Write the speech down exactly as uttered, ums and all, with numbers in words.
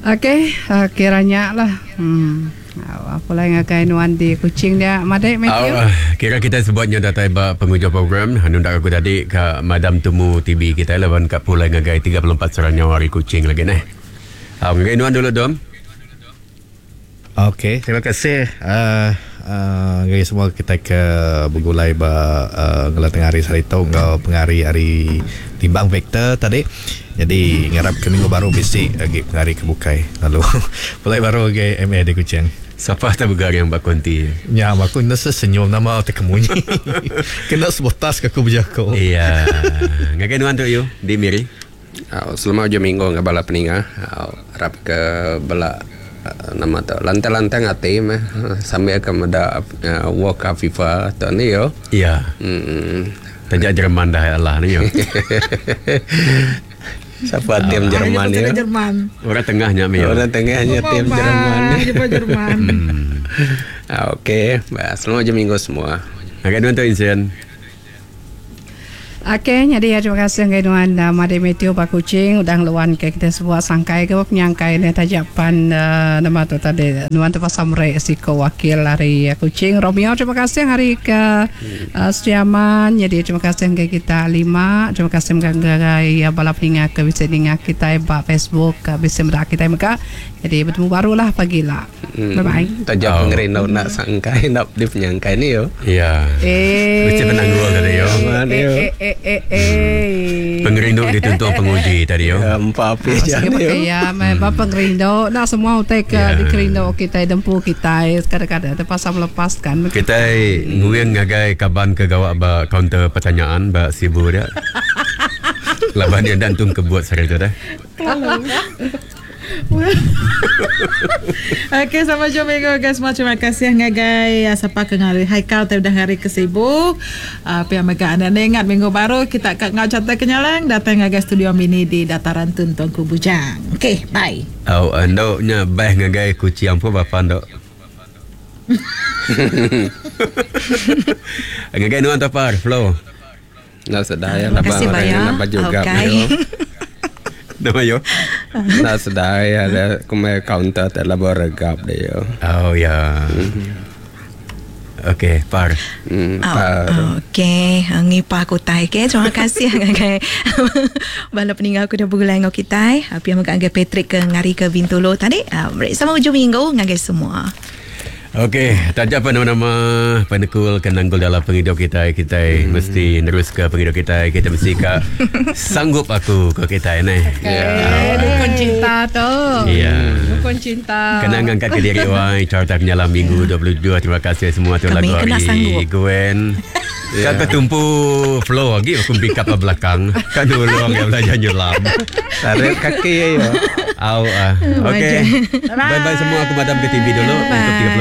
Okey, uh, kiranya lah. Hmm. Apa lagi ngagai nuan di Kuching dia, Madek Matthew? Uh, kira kita sebutnya datai ba penghujung program. Nundak aku tadi ke Madam Tumu T V kita lawan kat pulai ngagai tiga puluh empat serannya hari Kuching lagi neh. Ah, ngagai nuan dulu dom. Okey, terima kasih. Uh, uh, ngagai semua kita ke bergulai ba uh, ngelah tengah hari sarito ngau pengari hari Limbang Vector tadi. Jadi ngarap ke minggu baru bisi lagi pengari ke bukai. Lalu pulai baru ke M A di Kuching. Siapa tak begar yang bak konti? Ya, aku nasa senyum nama terkemunyi. Kena sebutas ke aku berjakau. Iya. Ngagai nuan tu yu di Miri. Uh, selama hujung minggu ngah bala peninga. Uh, harap ke bala uh, nama tu lantang-lantang hati meh sambil ke meda uh, World Cup FIFA tu ni yo. Iya. Hmm. Tajak Jerman dah Allah ni yo. Siapa tim Jerman ya? Jerman. Orang tengahnya mi. Orang tengahnya tim Jerman. Jerman. Hmm. Okey, selamat hujung minggu semua. Agak dua tu Insen. Okey, jadi terima kasih ngai nuan uh, Made Matthew Pak Kuching udah ngeluan ke kita sebuah sangkai ke penyangkai ni tajapan uh, nama tu tadi nuan tu pasal mere siko wakil hari Kuching Romeo. Terima kasih hari ke uh, Setiaman. Jadi terima kasih ngai kita lima. Terima kasih ngai uh, bala peninga ke bisa ninga kita ba Facebook ke bisa medak kita mega. Jadi bertemu barulah pagi lah. Hmm. Bye bye. Tajak oh. pengerindu nak sangkai nak di penyangkai ni yo. Ya. Eh. Mesti menanggung tadi yo. Eh eh eh eh. Pengerindu dituntut penguji tadi yo. Ya, empat api je ni yo. Ya, memang pengerindu nak semua utai ke yeah. dikerindu kita dempu kita kadang-kadang terpaksa melepaskan. Kita nguing ngagai kaban ke gawak ba kaunter pertanyaan ba Sibu dia. Laban dia dan tung kebuat sehari tu dah. Okey, sama jumpa minggu guys. Semua terima kasih ngagai siapa ke ngari Haikal tadi dah hari ke Sibu. Uh, pihak mega anda ingat minggu baru kita kat ngau carta kenyalang datang ngagai studio mini di Dataran Tun Tuanku Bujang. Okey, bye. Oh, andok nya bye ngagai kucing apa bapa andok. Ngagai nuan tapar flow. Nak sedar ya Terima kasih orang banyak. nak juga. Okey. Nama yo. Nak sedar ya ada kumai kaunter telah bergap dia. Oh ya. Okey, par. Hmm, Oh, par. okey, ngipa aku tai ke. Terima kasih ngagai bala peninga aku dah bergulai ngau kita. Pia mega ngagai Patrick ke ngari ke Bintulu tadi. Meri sama hujung minggu ngagai semua. Okey, tajak apa nama-nama penekul kenanggul dalam penghidup kita. Kita hmm. mesti nerus ke penghidup kita. Kita mesti ke sanggup aku ke kita ni. Okay. Yeah. Dukun cinta tu. Ya. Yeah. Dukun cinta. Kena ngangkat ke diri wai carta kenyalam minggu dua puluh dua. Terima kasih semua tu Kami lagu kena hari sanggup. Gwen. Yeah. Kau ketumpu flow lagi aku pick up belakang. Kan dulu orang yang belajar nyelam. Tarik kaki ya. Au ah. Okey. Bye bye semua, aku madam ke T V dulu untuk tiga puluh